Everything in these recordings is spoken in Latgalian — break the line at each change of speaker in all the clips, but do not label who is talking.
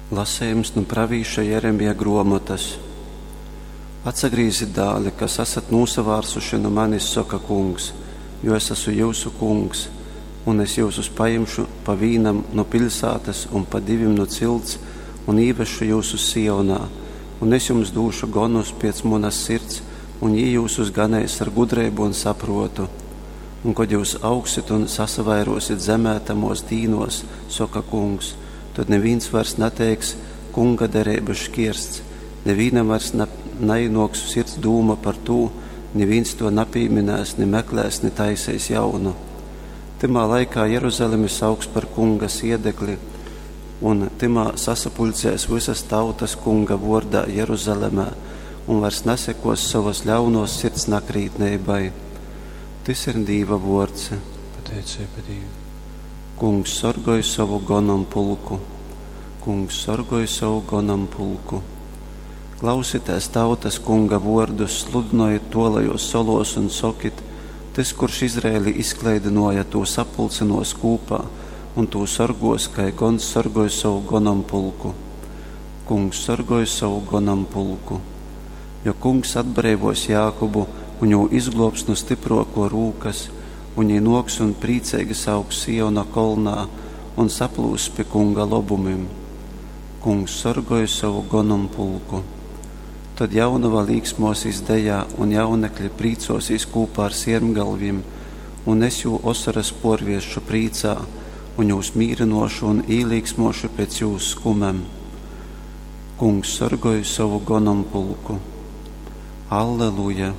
Lasejums nu pravīša Jeremija gruomotas. Atsagrīzit, dāli, kas asat nūsavārsuši nu manis, soka Kungs, jo es asu jyusu Kungs, un es jyusus pajimšu pa vīnam nu piļsātas un pa divim nu cilts un īvesšu jyusus Sionā, un es jums dūšu gonus piec munas sirds, un jī jyusus ganeis ar gudreibu un sapruotu. Un kod jyus augsit un sasavairuosit zemē tamuos dīnuos, soka Kungs, tod nivīns vairs nateiks, Kunga dereibys škiersts, nivīnam vairs na, naīnuoks sirds dūma par tū, nivīns tuo napīminēs, ni meklēs, ni taiseis jaunu. Tymā laikā Jeruzalemi sauks par Kunga siedekli, un tymā sasapuļcēs vysas tautas Kunga vuordā Jeruzalemē un vairs nasekos sovas ļaunuos sirds nakrītneibai. Tys ir Dīva vuords.
Pateiceiba Dīvam.
Kungs sorgoj sovu gonompulku. Kungs sorgoj sovu gonompulku. Klausitēs, tautas, Kunga vuordus, sludynojit tuolajuos soluos un sokit, Tys, kurš Izraeli izkleidynuoja, tū sapulcynuos kūpā un tū sorguos, kai gons sorgoj sovu gonompulku. Kungs sorgoj sovu gonompulku. Jo Kungs atbreivuos Jākubu un jū izgluobs nu stypruokuo rūkas, un jī nuoks un prīceigi sauks Siona kolnā un saplūss pi Kunga lobumim. Kungs sorgoj sovu gonompulku. Tod jaunova līksmuosīs dejā, un jaunekļi prīcuosīs kūpā ar siermgalvim, un es jū osoras puorviersšu prīcā, un jūs mīrynuošu un īlīksmuošu pēc jūs skumem. Kungs sorgoj sovu gonompulku. Alleluja!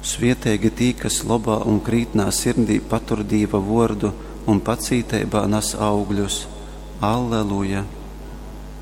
Svieteigi tī, kas lobā un krītnā sirdī patur Dīva vuordu un pacīteibā nas augļus. Alleluja!